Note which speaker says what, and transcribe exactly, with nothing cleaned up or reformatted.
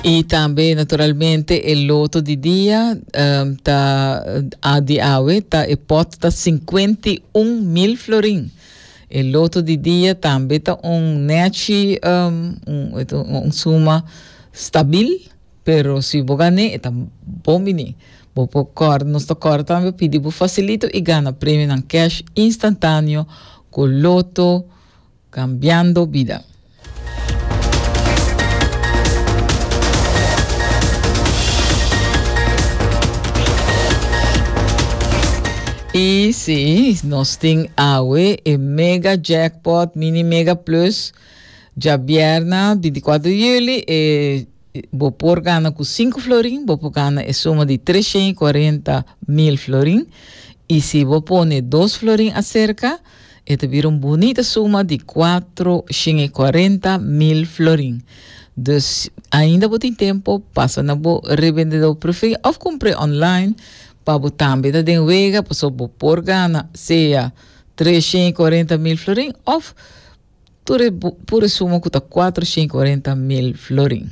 Speaker 1: I tambe naturalmente e loto di dia um, ta a di awe ta e pot ta sinkuenta i un mil florin. E loto di dia tambe ta un nechi um, un, un suma stabil, pero si bo gana, ta bon bini. Bo por kòrda, nos ta kòrda tambe pidi bo fasilito i gana premio na cash instantáneo ku Lotto, kambiando bida. I si, nos tin awe e mega jackpot, mini mega plus, djabièrnè, binti kuater di yüli, e bo por gana ku sinku florin, bo por gana e suma di treshen i kuarenta mil florin. I si bo pone dos florin aserka, e ta bira un bunita suma di kuatershen i kuarenta mil florin. Dus ainda bo tin tempu, pasa na bo rebendedó preferí òf kumpra online pa bo tambe ta den wega, paso bo por gana sea treshen i kuarenta mil florin òf tur pure suma ku ta kuatershen i kuarenta mil florin.